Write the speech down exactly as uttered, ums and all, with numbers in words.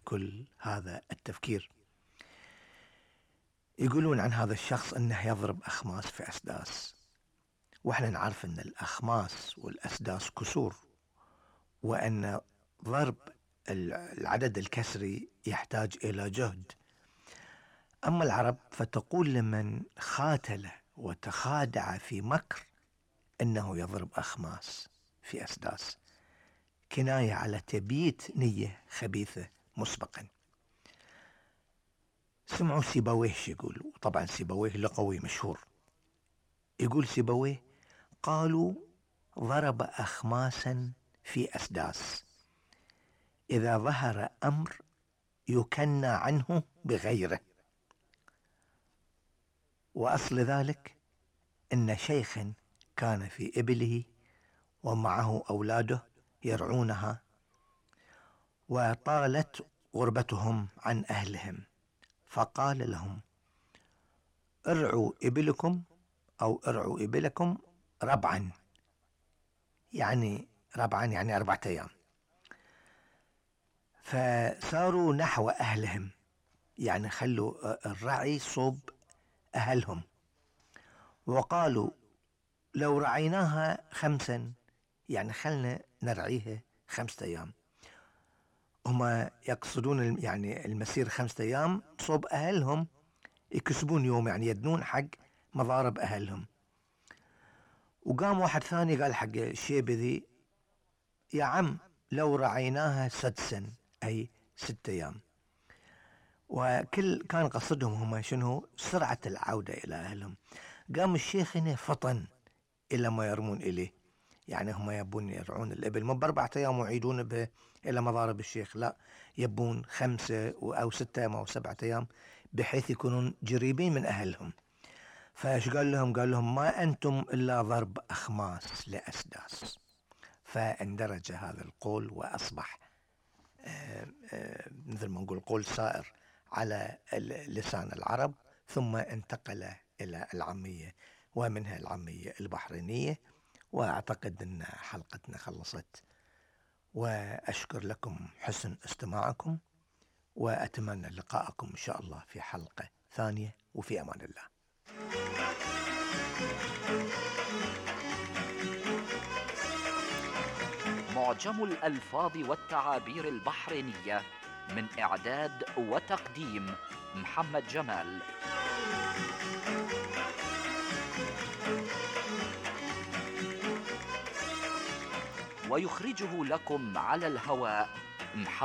كل هذا التفكير. يقولون عن هذا الشخص أنه يضرب أخماس في أسداس، وإحنا نعرف أن الأخماس والأسداس كسور، وأن ضرب العدد الكسري يحتاج إلى جهد. أما العرب فتقول لمن خاتل وتخادع في مكر أنه يضرب أخماس في أسداس، كناية على تبييت نية خبيثة مسبقا. سمعوا سيبويه يقول، وطبعا سيبويه لغوي مشهور، يقول سيبويه: قالوا ضرب أخماسا في أسداس، إذا ظهر أمر يكنى عنه بغيره. وأصل ذلك إن شيخا كان في إبله ومعه أولاده يرعونها، وطالت غربتهم عن أهلهم، فقال لهم: ارعوا إبلكم أو ارعوا إبلكم ربعا، يعني ربعا يعني أربعة أيام. فساروا نحو أهلهم، يعني خلوا الرعي صوب أهلهم، وقالوا: لو رعيناها خمسا، يعني خلنا نرعيها خمسة أيام. هما يقصدون يعني المسير خمسة أيام صوب أهلهم، يكسبون يوم، يعني يدنون حق مضارب أهلهم. وقام واحد ثاني قال حق الشيبة ذي: يا عم لو رعيناها سدسا، أي ستة أيام. وكل كان قصدهم هما شنو؟ سرعة العودة إلى أهلهم. قام الشيخ هنا فطن إلى ما يرمون إليه، يعني هم يبون يرعون الإبل مو بأربعة أيام ويعيدون به إلى مضارب الشيخ، لا، يبون خمسة أو ستة أو سبعة أيام بحيث يكونون جريبين من أهلهم. فايش قال لهم؟ قال لهم: ما أنتم إلا ضرب أخماس لأسداس. فاندرج هذا القول وأصبح آآ آآ مثل ما نقول قول سائر على لسان العرب، ثم انتقل إلى العامية، ومنها العامية البحرينية. وأعتقد أن حلقتنا خلصت، وأشكر لكم حسن استماعكم، وأتمنى لقاءكم إن شاء الله في حلقة ثانية، وفي أمان الله. معجم الألفاظ والتعابير البحرينية، من إعداد وتقديم محمد جمال. ويخرجه لكم على الهواء محمد